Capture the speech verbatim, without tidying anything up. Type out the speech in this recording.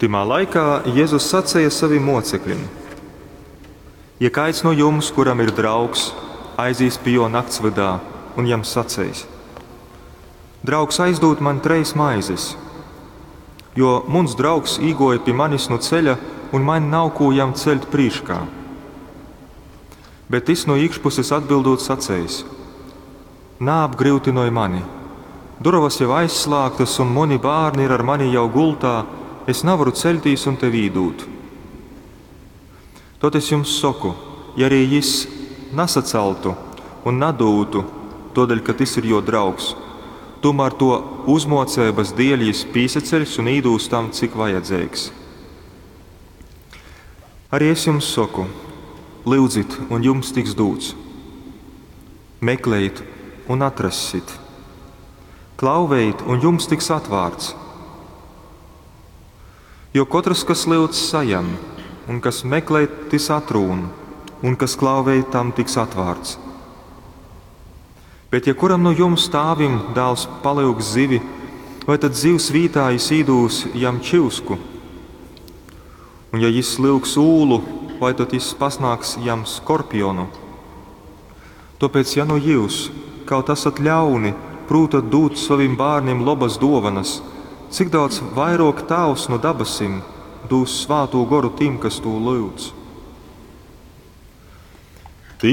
Tymā laikā Jezus saceja sovim mōceklim, Ja kaids nu jums, kuram ir draugs, aizīs pi jō naktsvydā un jam saceis: Draugs, aizdūd maņ trejs maizes, jo muns draugs īgōja pi manis nu ceļa un maņ nav kū jam ceļt prīškā. Bet tys nu īkšpuses atbildūt saceis: Naapgryutynoj mani, durovas jau aizslāgtas un muni bārni ir ar mani jau gultā, es navaru ceļtīs un tev īdūt. Tod es jums soku, ja arī jis nasacaltu un nadūtu, tōdēļ, ka tys ir jō draugs, tūmār tō uzmōceibas dēļ jis pīsaceļs un īdūs tam, cik vajadzeigs. Arī es jums soku, lyudzit, un jums tiks dūts. Meklejit un atrassit. Klauvejit, un jums tiks atvārts. Jo kotrs, kas lyudz, sajam, un kas meklej, tys atrūn, un kas klauvej, tam tiks atvārts. Bet ja kuram nu jums tāvim dāls palyugs zivi, vai tad zivs vītā jis īdūs jam čyusku? Un ja jis lyugs ūlu, vai tad jis pasnāgs jam skorpionu? Tōpēc, ja nu jyus, kaut asat ļauni, prūtat dūt sovim bārnim lobas dōvanas, cik daudz vairōk Tāvs nu dabasim dūs Svātū Goru tim, kas tū lyudz.